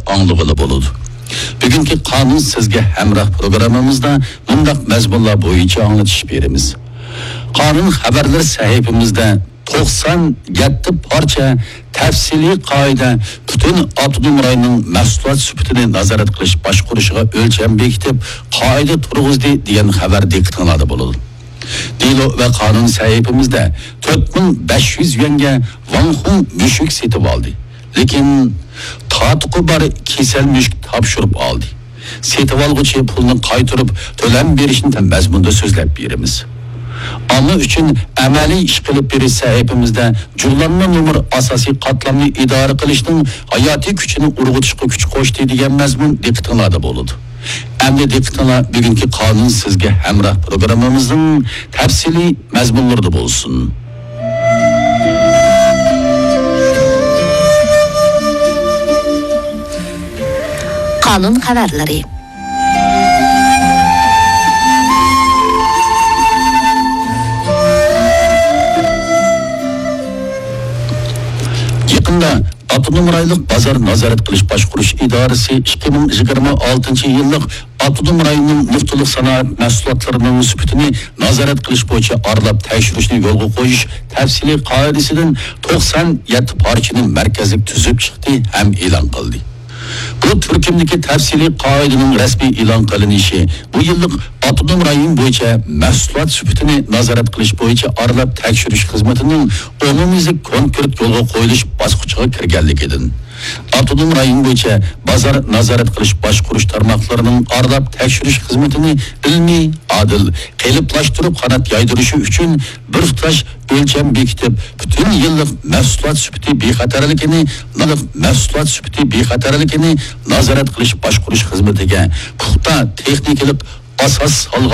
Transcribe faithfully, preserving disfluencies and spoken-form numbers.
ئاڭلىغىلى بولىدۇ. بۈگۈنكى قانۇن سىزگە ھەمراھ پروگراممىمىزدا مۇنداق مەزمۇنلار بويىچە ئاڭلىتىش بېرىمىز. قانۇن خەۋەرلىرى سەھىپىمىزدە توقسان يەتتە پارچە تەپسىلىي قائىدە پۈتۈن ئاپتونوم رايوننىڭ مەھسۇلات سۈپىتىنى نازارەت قىلىش باشقۇرۇشىغا ئۆلچەم بېكىتىپ، قائىدە تۇرغۇزدى دېگەن خەۋەر دىققىتىڭلاردا بولىدۇ. دېلو ۋە قانۇن سەھىپىمىزدە تۆت مىڭ بەش يۈز يۈەنگە ۋاڭ خۇڭ مۈشۈك سېتىۋالدى. لېكىن تاتۇقى بار كېسەل مۈشۈك تاپشۇرۇپ ئالدى. سېتىۋالغۇچى پۇلنى قايتۇرۇپ تۆلەم بېرىشنى مەزمۇندا سۆزلەپ بېرىمىز. ئامما ئۈچۈن ئەمەلىي ئىش قىلىپ بېرىش سەھىپىمىزدە جۇغلانما نومۇر ئاساسىي قاتلامنى ئىدارە قىلىشنىڭ ھاياتىي كۈچىنى ئۇرغۇتۇشقا كۈچ قوشتى دېگەن مەزمۇن دىققىتىڭلاردا بولىدۇ. ئەمدى دىققىتىڭلار بۈگۈنكى قانۇن سىزگە ھەمراھ پروگراممىمىزنىڭ تەپسىلىي مەزمۇنلىرىدا بولسۇن. قانۇن خەۋەرلىرى. يېقىندا ئاپتونوم رايونلۇق بازار نازارەت قىلىش باشقۇرۇش ئىدارىسى ئىككى مىڭ يىگىرمە ئالتىنچى يىللىق ئاپتونوم رايوننىڭ نۇقتىلىق سانائەت مەھسۇلاتلىرىنىڭ سۈپىتىنى نازارەت قىلىش بويىچە ئارىلاپ تەكشۈرۈشنى يولغا قويۇش تەپسىلىي قائىدىسىدىن توقسان يەتتە پارچىنى مەركەزلىك تۈزۈپ چىقتى ھەم ئېلان قىلدى. بۇ تۈركۈمدىكى تەپسىلىي قائىدىنىڭ رەسمىي ئېلان قىلىنىشى بۇ يىللىق ئاپتونوم رايون بويىچە مەھسۇلات سۈپىتىنى نازارەت قىلىش بويىچە ئارىلاپ تەكشۈرۈش خىزمىتىنىڭ ئومۇميۈزلۈك كونكرېت يولغا قويۇلۇش باسقۇچىغا كىرگەنلىكىدىن، ئاپتونوم رايون بويىچە بازار نازارەت قىلىش باشقۇرۇش تارماقلىرىنىڭ ئارىلاپ تەكشۈرۈش خىزمىتىنى ئىلمىي، ئادىل، قېلىپلاشتۇرۇپ قانات يايدۇرۇشى ئۈچۈن بىر تۇتاش ئۆلچەم بېكىتىپ، پۈتۈن يىللىق مەھسۇلات سۈپىتى بىخەتەرلىكىنى، يىللىق مەھسۇلات سۈپىتى بىخەتەرلىكىنى نازارەت قىلىش باشقۇرۇش خىزمىتىگە پۇختا تېخنىكىلىق ئاساس سالغان